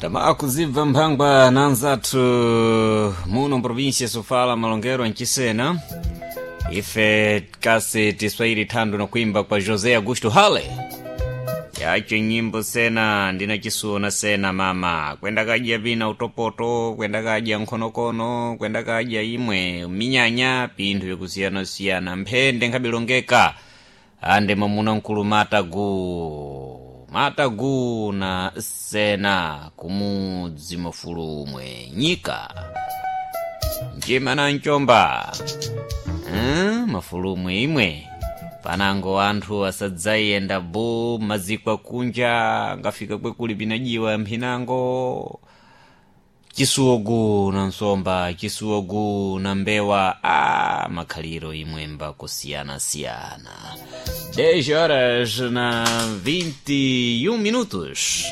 Tamakuzibva mphangwa na anzathu muno mprovinsia sofala malongero mchisena ife kasi tiswahili thando na kuimba kwa José Augusto Hale yacho nyimbo sena ndina chisuona sena mama kwenda kadya vina utopoto, kwenda kadya nkhonokono, kwenda kadya imwe minyanya, pinthu vyakusiyanasiyana, mphende nkhabilongeka ande mwamuna mkulu matagu matagu na sena kumudzi mafulumwe nyika njima na nchomba, mafulumwe imwe panango anthu asadzayenda bo maziko akunja ngafika kwekuli pinajiwa mphinango chisuwogu na nsomba, chisuwogu na mbewa, a makhaliro imwemba kusiyanasiyana. 10 horas na 21 minutos.